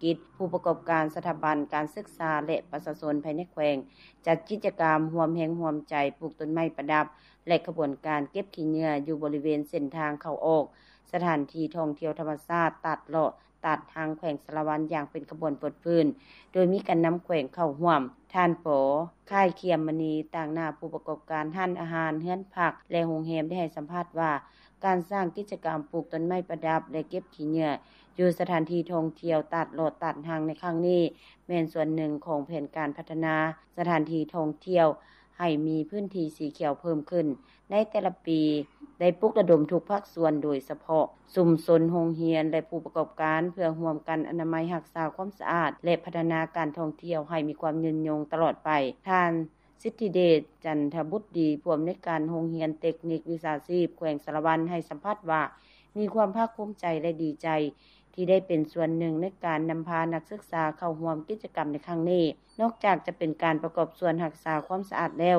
ກິດ, ຜູ້ປະກອບການ, ສະຖາບັນການສຶກສາ ແລະ ປະຊາຊົນພາຍໃນແຂວງ ຈັດກິດຈະກຳຮ່ວມແຮງຮ່ວມໃຈປູກຕົ້ນໄມ້ປະດັບ ແລະ ຂະບວນການເກັບຂີ້ເຫຍື້ອຢູ່ບໍລິເວນເສັ້ນທາງເຂົ້າອອກສະຖານທີ່ທ່ອງທ່ຽວທຳມະຊາດຕາດເລາະ ຕາດຮັງ ແຂວງສາລະວັນ ຢ່າງເປັນຂະບວນຟົດຟື້ນ ໂດຍມີການນຳແຂວງເຂົ້າຮ່ວມ. ທ່ານ ປໍ ຄ້າຍຄຽມມະນີ ຕາງໜ້າຜູ້ປະກອບການຮ້ານອາຫານ, ເຮືອນພັກ ແລະ ໂຮງແຮມ ໄດ້ໃຫ້ສຳພາດວ່າ ການສ້າງກິດຈະກຳປູກຕົ້ນໄມ້ປະດັບ ແລະ ເກັບຂີ້ເຫຍື້ອ ຢູ່ສະຖານທີ່ທ່ອງທ່ຽວຕາດເລາະຕາດຮັງໃນຄັ້ງນີ້ ແມ່ນສ່ວນໜຶ່ງຂອງແຜນການພັດທະນາສະຖານທີ່ທ່ອງທ່ຽວ ໃຫ້ມີພື້ນທີ່ສີຂຽວເພີ່ມຂຶ້ນ. ໃນແຕ່ລະປີ ໄດ້ປຸກລະດົມທຸກພາກສ່ວນ, ໂດຍສະເພາະຊຸມຊົນ, ໂຮງຮຽນ ແລະ ຜູ້ປະກອບການ ເພື່ອຮ່ວມກັນອະນາໄມ, ຮັກສາຄວາມສະອາດ ແລະ ພັດທະນາການທ່ອງທ່ຽວໃຫ້ມີຄວາມຍືນຍົງຕະຫຼອດໄປ. ທ່ານ ສິດທິເດດ ຈັນທະບຸດດີ ຜູ້ອຳນວຍການໂຮງຮຽນເຕັກນິກວິຊາຊີບແຂວງສາລະວັນ ໃຫ້ສຳພາດວ່າ ມີຄວາມພາກພູມໃຈ ແລະ ດີໃຈ ທີ່ໄດ້ເປັນສ່ວນໜຶ່ງໃນການນຳພານັກສຶກສາເຂົ້າຮ່ວມກິດຈະກຳໃນຄັ້ງນີ້. ນອກຈາກຈະເປັນການປະກອບສ່ວນຮັກສາຄວາມສະອາດແລ້ວ,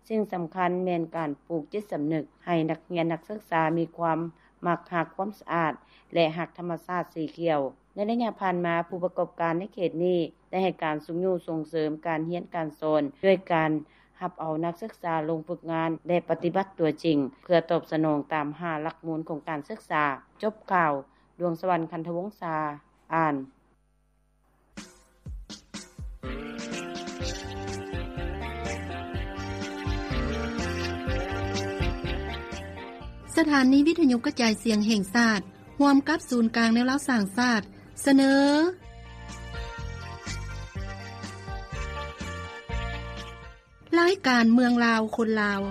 ສິ່ງສຳຄັນແມ່ນການປູກຈິດສຳນຶກໃຫ້ນັກຮຽນນັກສຶກສາມີຄວາມມັກຮັກຄວາມສະອາດ ແລະ ຮັກທຳມະຊາດສີຂຽວ. ໃນໄລຍະຜ່ານມາ, ຜູ້ປະກອບການໃນເຂດນີ້ໄດ້ໃຫ້ການຊຸກຍູ້ສົ່ງເສີມການຮຽນການສອນ ດ້ວຍການຮັບເອົານັກສຶກສາລົງຝຶກງານ ແລະ ປະຕິບັດຕົວຈິງ ເພື່ອຕອບສະໜອງຕາມຫ້າຫຼັກມູນຂອງການສຶກສາ. ຈົບຂ່າວ, ດວງສະຫວັນ ຄັນທະວົງສາ ອ່ານ. ສະຖານີວິທະຍຸກະຈາຍສຽງແຫ່ງຊາດ ຮ່ວມກັບສູນກາງແນວລາວສ້າງຊາດ ສະເໜີ ລາຍການເມືອງລາວຄົນລາວ.